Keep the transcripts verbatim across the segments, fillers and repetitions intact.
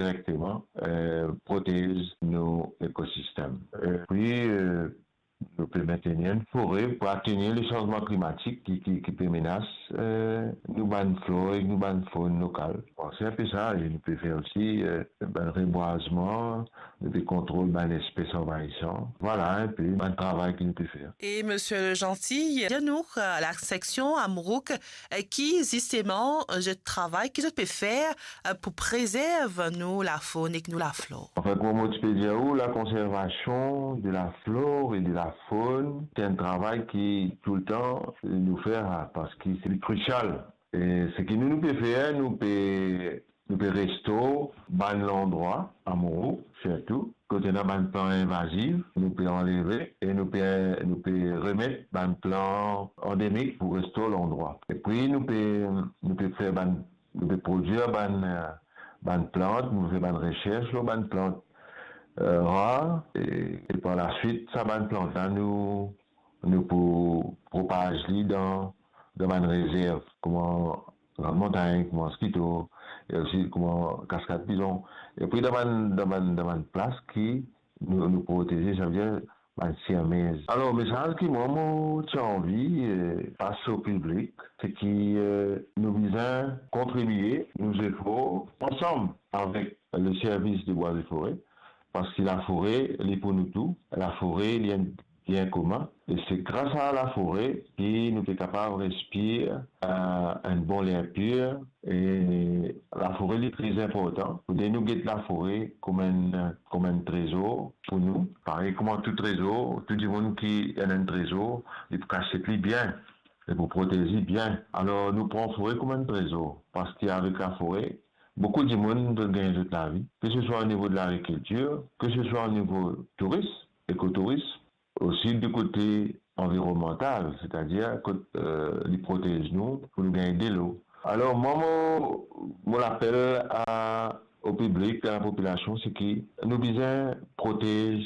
direkteman, eh, protez nou ekosistem. Epi, eh, nou pe mentenir enn fore pou atenir le sanzman klimatik ki, ki, ki pe menas, eh, nou bann flor ek nou bann fonn lokal. Bon, se enpe sa, e nou pe fer osi, eh, bann rebwazman, nou pe kontrol bann espes anvayisan. Vwala enpe bann travay ki nou pe fer. E Misie Legentil, dir nou, eh, la seksion Amorook, eh, ki zisteman, eh, zot travay, ki zot pe fer, eh, pou prezerv nou lafonn ek nou laflor? Anfin, kouma mo ti pe dir ou, la konservasion de laflor e de lafonn, se enn travay ki toultan nou fer, parski se krisial. E seki nou, nou pe fer, nou pe, nou pe restor bann landrwa, Amorook sirtou, kot ena bann plant invazif, nou pe anleve e nou pe, nou pe remet bann plant andemik pou restor landrwa. Epi nou pe, nou pe fer bann, nou pe prodwir bann, eh, bann plant, nou fer bann resers lor bann plant, eh, rar, e, e par laswit, sa bann plant la, nou, nou pou propaz li dan, dan bann rezerv, kouma Grande Montagne, kouma Mosquito, e osi kouma Cascade Pigeon. Epi dan bann, dan bann, dan bann plas ki nou, nou proteze, savedir bann sirmez. Alor, mesaz ki mwa, mo ti anvi, eh, pas o piblik, se ki, eh, nou bizin kontribie nou zefor ansam avek le Service des Bois et Forêts, parski lafore, li pou nou tou. Lafore, li enn bien komin. E se gras a lafore ki nou pe kapav respir, eh, enn bon ler pir. E lafore, li tre inportan. Fode nou get lafore kouma enn, kouma enn trezor pou nou. Parey kouma tou trezor, tou dimoun ki ena enn trezor, li pou kasiet li bien, li pou protez li bien. Alor, nou pran fore kouma enn trezor, parski avek lafore, boukou dimoun zot gagn zot lavi, ke se swa o nivo de lagrikiltir, ke se swa o nivo touris, ekotouris, osi de kote anvironmantal, setadir kot, eh, li protez nou pou nou gagn delo. Alor, mwa, mo, mo lapel a, o piblik, a lapopilasion, se ki nou bizin protez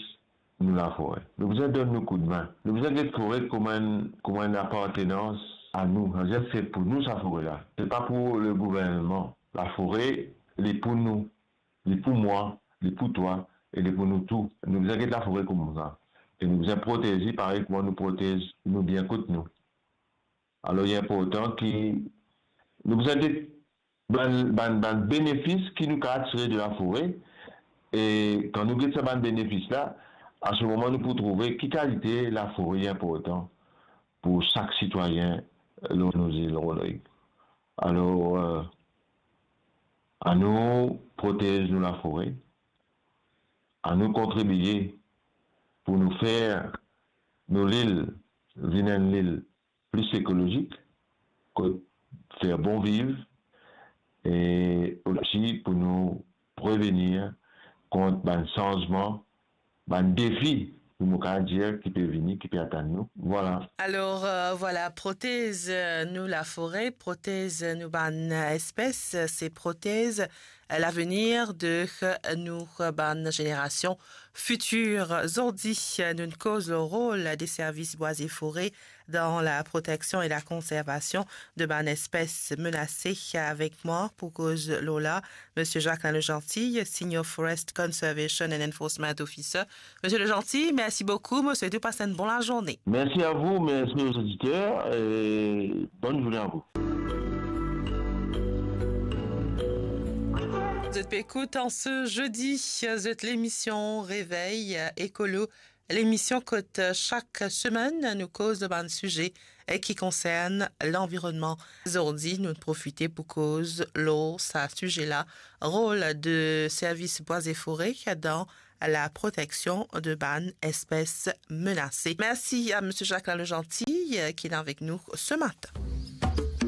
nou lafore. Nou bizin donn nou koudmin. Nou bizin get fore kouma enn, kouma enn apartenans a nou. Savedir se pou nou sa fore la. Se pa pou le gouvernman. Lafore, li pou nou. Li pou mwa, li pou twa, e li pou nou tou. Nou bizin get lafore koumsa. E nou bizin protez li parey kouma nou protez nou bien kot nou. Alor, li inportan ki nou bizin get bann, bann, bann benefis ki nou kapav tire de lafore, e kan nou get sa bann benefis la, a se moman nou pou trouve ki kalite lafore li inportan pou sak sitwayin lor nou zil, Rodrig. Alor, eh, anou protez nou lafore, anou kontribie pou nou fer nou lil vinn enn lil pli ekolozik, kot fer bon viv, e osi pou nou prevenir kont bann sanzman, bann defi, pou mo kapav dir, ki pe vini, ki pe atann nou. Vwala. Alor, eh, vwala, protez, eh, nou lafore, protez, eh, nou bann, eh, espes, eh, se protez, eh, lavenir de, eh, nou, eh, bann zenerasion fitir. Zordi, eh, nou koz lor rol de Service Bois et Forêts dan laproteksion e lakonservasion de bann espes menase. Avek mwa pou koz lor la, Misie Jacquelin Legentil, Senior Forest Conservation and Enforcement Officer. Misie Legentil, mersi boukou. Mo swet ou pas enn bon lazourne. Merci à vous, merci aux auditeurs et bonne journée à vous. Zot pe ekout an se zedi, zot lemision Revey Ekolo, lemision kot sak semenn nou koz lor bann size ki konsern lanvironnman. Zordi, nou profite pou koz lor sa size la, rol de Service Bois et Forêts dan laproteksion de bann espes menase. Mersi a Misie Jacquelin Legentil, eh, ki ete avek nou se matin.